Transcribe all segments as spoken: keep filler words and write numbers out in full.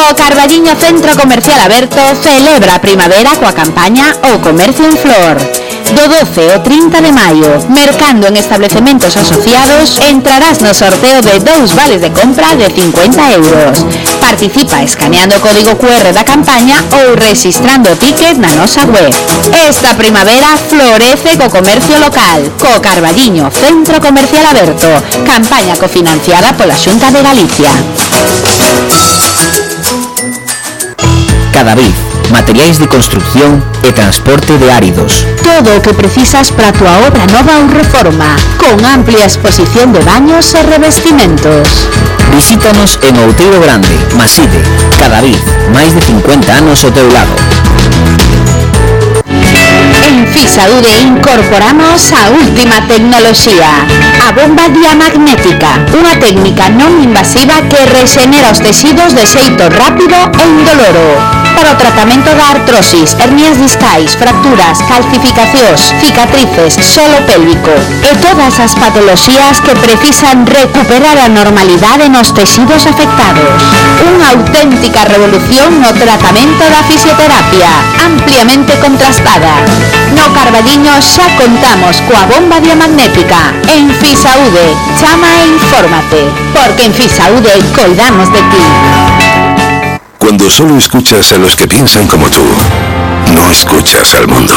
O Carballiño Centro Comercial Aberto celebra a primavera coa campaña O Comercio en Flor. Do doce ao trinta de maio, mercando en establecementos asociados, entrarás no sorteo de dous vales de compra de cincuenta euros. Participa escaneando o código cu erre da campaña ou rexistrando o ticket na nosa web. Esta primavera florece co comercio local, co Carballiño Centro Comercial Aberto. Campaña cofinanciada pola Xunta de Galicia. Cadavid, materiais de construcción e transporte de áridos. Todo o que precisas para a tua obra nova ou reforma, con amplia exposición de baños e revestimentos. Visítanos en Outeiro Grande, Maside. Cadavid, máis de cincuenta anos ao teu lado. En Fisaúde incorporamos a última tecnoloxía, a bomba diamagnética, unha técnica non invasiva que rexenera os tecidos de xeito rápido e indoloro. Para o tratamento da artrosis, hernias discais, fracturas, calcificacións, cicatrices, solo pélvico e todas as patoloxías que precisan recuperar a normalidade nos tecidos afectados. Unha auténtica revolución no tratamento da fisioterapia, ampliamente contrastada. No Carballiño xa contamos coa bomba diamagnética. En Fisaúde, chama e infórmate, porque en Fisaúde coidamos de ti. Cuando solo escuchas a los que piensan como tú, no escuchas al mundo.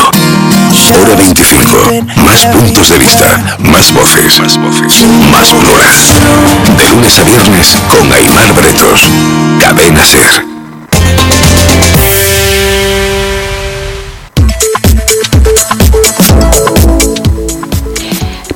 Hora veinticinco. Más puntos de vista, más voces, más voces, más plural. De lunes a viernes con Aimar Bretos. Cadena Ser.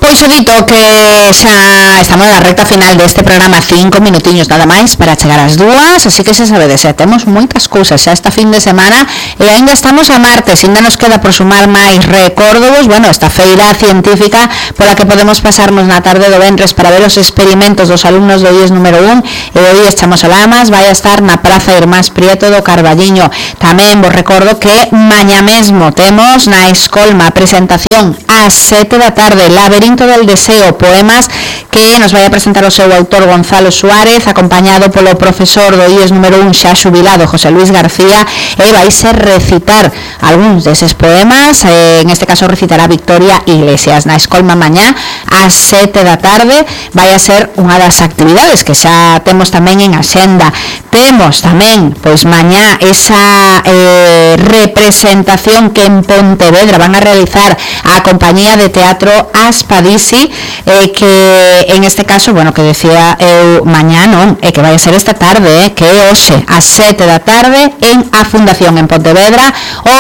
Pois o dito que xa estamos na recta final deste programa, cinco minutiños nada máis para chegar ás dúas, así que xa sabedes, xa temos moitas cousas xa esta fin de semana e ainda estamos a martes, ainda nos queda por sumar máis recórdovos, bueno, esta feira científica pola que podemos pasarnos na tarde do venres para ver os experimentos dos alumnos do I E S número un e do I E S Chamosolamas, vai a estar na Praza Irmás Prieto do Carballiño. Tamén vos recordo que mañá mesmo temos na Escolma a presentación ás sete da tarde, Laberinto del Deseo, poemas que nos vai a presentar o seu autor Gonzalo Suárez, acompañado polo profesor do I E S número un xa xubilado José Luis García, e vai ser recitar algúns deses poemas, eh, en este caso recitará Victoria Iglesias na Escolma mañá ás sete da tarde. Vai a ser unha das actividades que xa temos tamén en axenda. Temos tamén, pois mañá, esa eh, representación que en Pontevedra van a realizar a compañía de teatro Aspadisi, eh, que en este caso, bueno, que decía eu mañá non, é que vai a ser esta tarde, eh, que é hoxe ás sete da tarde en a Fundación en Pontevedra.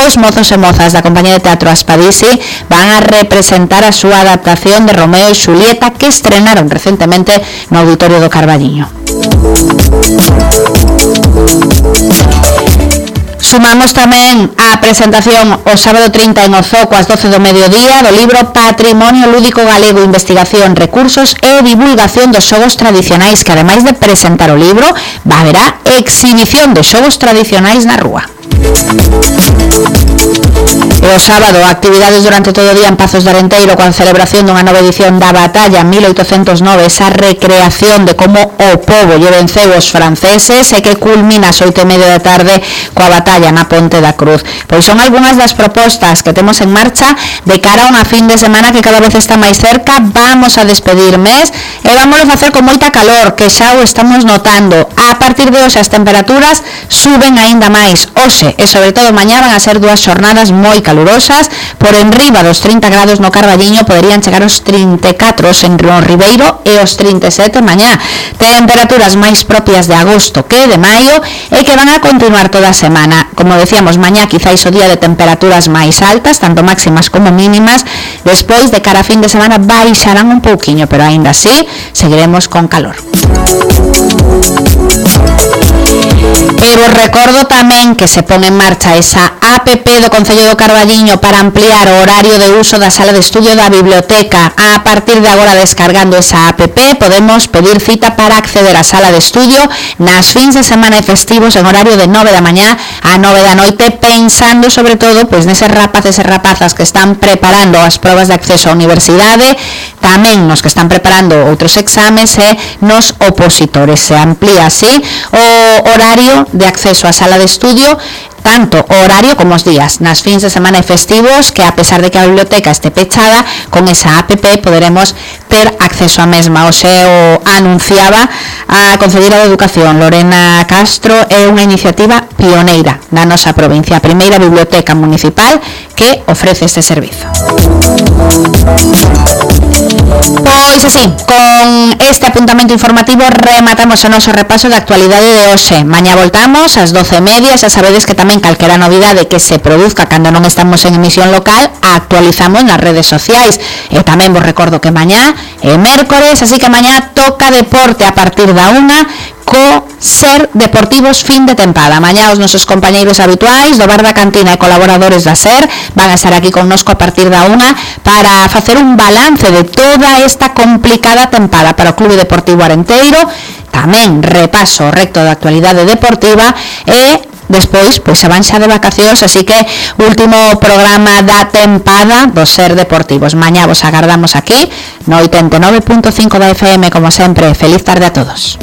Os mozos e mozas da compañía de teatro Aspadisi van a representar a súa adaptación de Romeo e Xulieta que estrenaron recentemente no Auditorio do Carballiño. Sumamos tamén a presentación o sábado trinta en Ozoco ás doce do mediodía do libro Patrimonio Lúdico Galego, Investigación, Recursos e Divulgación dos Xogos Tradicionais, que ademais de presentar o libro, va a haber exhibición de xogos tradicionais na rúa. E o sábado, actividades durante todo o día en Pazos de Arenteiro coa celebración dunha nova edición da Batalla mil oitocentos nove, esa recreación de como o pobo lle venceu os franceses e que culmina ás oito e media da tarde coa batalla na Ponte da Cruz. Pois son algunhas das propostas que temos en marcha de cara a unha fin de semana que cada vez está máis cerca. Vamos a despedir mes e vámonos a facer con moita calor, que xa o estamos notando. A partir de hoxe as temperaturas suben aínda máis. Hoxe e sobre todo mañá van a ser dúas xornadas moi calurosas, por enriba dos trinta grados no Carballiño, poderían chegar aos trinta e catro en Río Ribeiro e aos trinta e sete mañá. Temperaturas máis propias de agosto que de maio e que van a continuar toda a semana. Como decíamos, mañá quizáis o día de temperaturas máis altas, tanto máximas como mínimas. Despois, de cara a fin de semana, baixarán un pouquiño, pero aínda así seguiremos con calor. E vos recordo tamén que se pon en marcha esa app do Concello do Carballiño para ampliar o horario de uso da sala de estudio da biblioteca. A partir de agora, descargando esa app, podemos pedir cita para acceder á sala de estudio nas fins de semana e festivos en horario de nove da mañá a nove da noite, pensando sobre todo pois neses rapaces e rapazas que están preparando as probas de acceso á universidade, tamén nos que están preparando outros exames e nos opositores. Se amplía así o horario de acceso á sala de estudio, tanto o horario como os días, nas fins de semana e festivos, que a pesar de que a biblioteca este pechada, con esa app poderemos ter acceso á mesma. O xeo anunciaba a Concelleira de Educación, Lorena Castro, é unha iniciativa pioneira da nosa provincia, a primeira biblioteca municipal que ofrece este servizo. Pois así, con este apuntamento informativo rematamos o noso repaso de actualidade de hoxe. Mañá voltamos ás doce e media, xa sabedes que tamén calquera novidade que se produzca cando non estamos en emisión local a actualizamos nas redes sociais. E tamén vos recordo que mañá é mércores, así que mañá toca deporte a partir da unha co Ser Deportivos fin de tempada. Mañá os nosos compañeiros habituais do Bar da Cantina e colaboradores da Ser van a estar aquí connosco a partir da unha para facer un balance de toda esta complicada tempada para o Clube Deportivo Arenteiro, tamén repaso recto da actualidade deportiva e despois, pois se van xa de vacacións, así que último programa da tempada do Ser Deportivos. Mañá vos agardamos aquí no oitenta e nove punto cinco da F M, como sempre. Feliz tarde a todos.